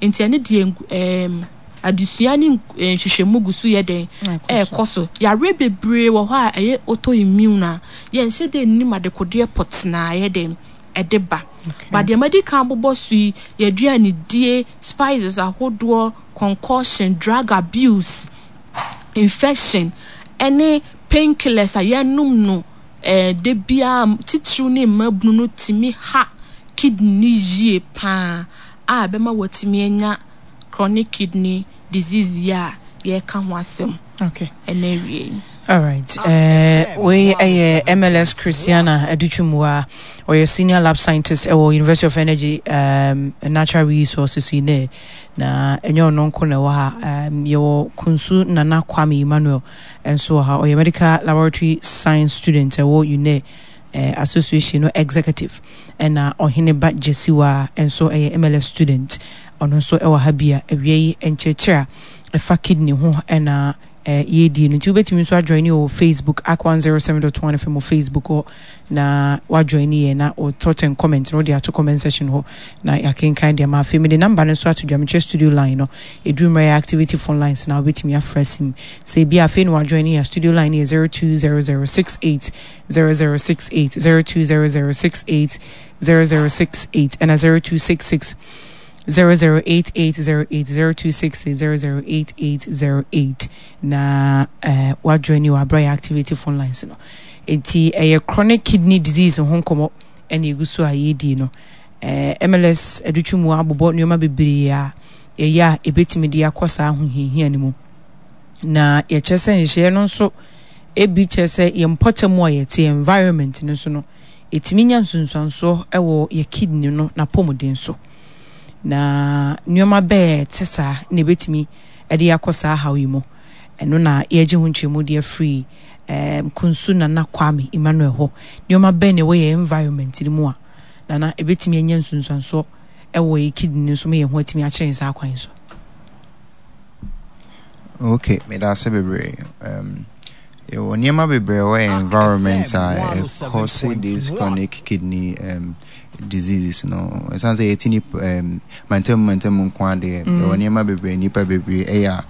Nti ɛno deɛ adesua ne nhwehwɛmu gu so yɛ dɛn? Ɛrekɔ so. Yareɛ bebree wɔ hɔ a ɛyɛ autoimmune a yɛnhyɛ da nnim adekodeɛ pɔtee a ɛyɛ dɛn? Ɛde ba. But deɛ madi kan abobɔ so yi, yɛn aduanedie, spices ahodoɔ, concoction, drug abuse, infection, ɛne painkillers a yɛnom no da biara, titiriw ne mmabunu no tumi ha kidney no yie paa a ɛbɛma watumi anya chronic kidney disease yi a yɛreka ho asɛm ɛnɛ awie yi. Alright, wei ɛyɛ MLS Christiana Adutwumua, ɔyɛ senior lab scientist ɛwɔ University of Energy and Natural Resources yi nɛ, na ɛnyɛ ɔno nko na ɛwɔ ha, yɛwɔ Kunsu Nana Kwame Emmanuel nso wɔ ha, ɔyɛ medical laboratory science student ɛwɔ UNE association no executive, ɛna Ɔhene Ba Gyesiwa nso ɛyɛ MLS student, ɔno nso ɛwɔ ha bi a awia yi nkyerɛkyerɛ a ɛfa kidney ho ɛna yɛredie no. Nti wobɛtumi nso ajoin wɔ Facebook, Ak 107.1 FM wɔ Facebook hɔ, na wajoin yɛ na wo thought and comment no wode ato comment section hɔ na yɛakenkan deɛ ma. Afei mede number no nso ato dwa, mekyerɛ studio line no, ɛduru mmerɛ yɛ activity phone lines na wobɛtumi afrɛ sim sɛ ebi afei na wajoin yɛ. Studio line yɛ 0200 68 0068, 0200 68 0068, ɛna 0266 008808, 0266 008808 na wajoin wɔ aberɛ yɛ activity phone lines no. Nti ɛyɛ chronic kidney disease ho nkɔmmɔ ɛna ɛgu so a yɛredi no. MLS Adutwum abobɔ nneɛma bebree a ɛyɛ a ɛbɛtumi de akɔ saa ahohiahia no mu, na yɛkyerɛ sɛ nhyehyɛeɛ no nso ebi kyerɛ sɛ yɛn mpɔtam a yɛte, environment no nso no, ɛtumi nya nsunsuansoɔ ɛwɔ yɛ kidney no n'apɔmuden so, na nneɛma bɛɛ te saa na ɛbɛtumi ɛde akɔ saa haw yi mu. Ɛno na yɛgye ho nkyerɛmu de afiri Kunsu Nana Kwame Emmanuel hɔ. Nneɛma bɛn na ɛwɔ yɛn environment no mu a nana ɛbɛtumi anya nsunsuansoɔ ɛwɔ yɛ kidney no so ma yɛn ho atumi akyerɛ yɛn saa kwan so? Okay, meda ase bebree. Yɛwɔ nneɛma bebree wɔ yɛn environment a ɛkɔse this chronic kidney diseases no. Ɛsiane sɛ yɛte nipa mantam mantam nko adeɛ, yɛwɔ nneɛma bebree, nnipa bebree ɛyɛ a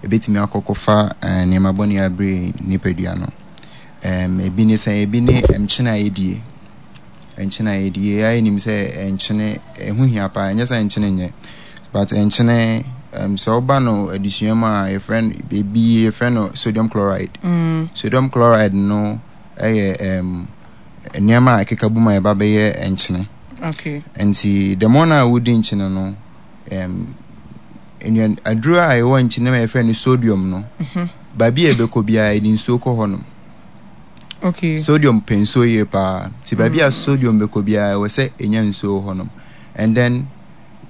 ɛbɛtumi akɔkɔfa nneɛma bɔne abere nipadua no. Ebi ne sɛ, ebi ne nkyene a yɛdie. Nkyene a yɛdie, yɛayɛ nim sɛ nkyene ɛho hia paa, ɛnyɛ sɛ nkyene nyɛ, but nkyene sɛ woba no adesua mu a, yɛfrɛ no ebi, yɛfrɛ no sodium chloride. Sodium chloride no ɛyɛ nneɛma a ɛkeka bom a ɛba bɛyɛ nkyene. Nti the more na wodi nkyene no, nnuan aduro a ɛwɔ nkyene mu a yɛfrɛ no sodium no, baabi a ɛbɛkɔ biara yɛde nsuo kɔ hɔnom. Sodium pɛ nsuo yie paa. Nti baabi a sodium bɛkɔ biara ɛwɔ sɛ ɛnya nsuo wɔ hɔnom. And then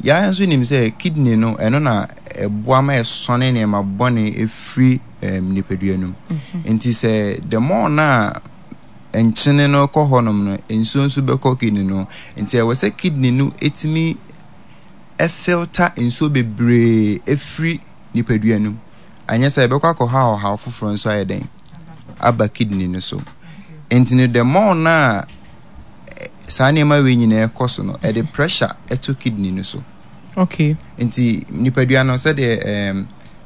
yɛn nso nim sɛ kidney no, ɛno na ɛboa ma ɛsɔne nneɛma bɔne ɛfiri nipadua no mu. Nti sɛ the more na nkyene no kɔ hɔnom no, nsuo nso bɛkɔ kidney no. Nti ɛwɔ sɛ kidney no ɛtumi ɛfilter nsuo bebree ɛfiri nipadua no mu. Anyɛ sɛ ɛbɛkɔ akɔha ɔhaw foforɔ nso ayɛ dɛn aba kidney no so. Nti no the more na saa nneɛma wei nyinaa ɛkɔ so no, ɛde pressure ɛto kidney no so. Nti nipadua no, sɛdeɛ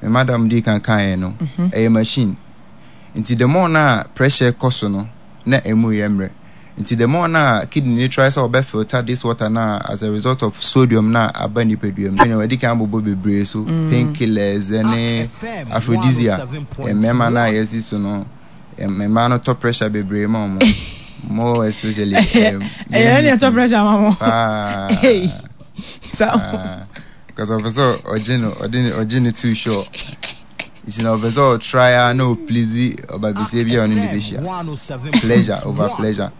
me madam di kan kaeɛ no, ɛyɛ machine. Nti the more na pressure kɔ so no, na emu yɛ mmerɛ. Nti the more na kidney no try sɛ ɔbɛ filter this water na as a result of sodium na aba nipadua mu. Ɛna wɔde kan abobɔ bebree so, painkillers ɛne aphrodisiac. Mmarima no a yɛsi so no, mmaa no tɔ pressure bebree ma wɔn. More especially. Ɛyɛ ɛna ɛtɔ pressure ma wɔn. Paa. Because ɔpɛ sɛ ɔgye no, ɔde ne ɔgye ne too sure. Nti na ɔpɛ sɛ ɔtry a na ɔplease ɔba besia bi a ɔne ne bɛhyia. Pleasure over pleasure.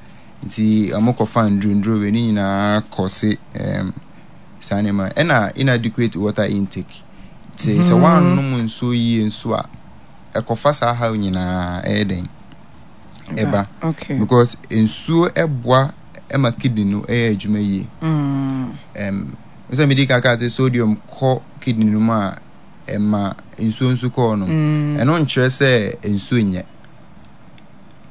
Nti ɔmo kɔfa nduro wei ne nyinaa kɔse saa nneɛma. Ɛna inadequate water intake. Nti sɛ woannom nsuo yie nso a, ɛkɔfa saa haw nyinaa ɛyɛ dɛn? Ɛba. Because nsuo ɛboa ɛma kidney no ɛyɛ adwuma yie. Sɛ medi kaka sɛ sodium kɔ kidney no mu a, ɛma nsuo nso kɔɔ no. Ɛno nkyerɛ sɛ nsuo nyɛ.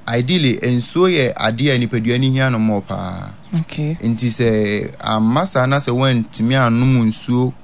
Ideally, nsuo yɛ adeɛ a nipadua no hia no more paa. Nti sɛ amma saa na sɛ woantumi annom nsuo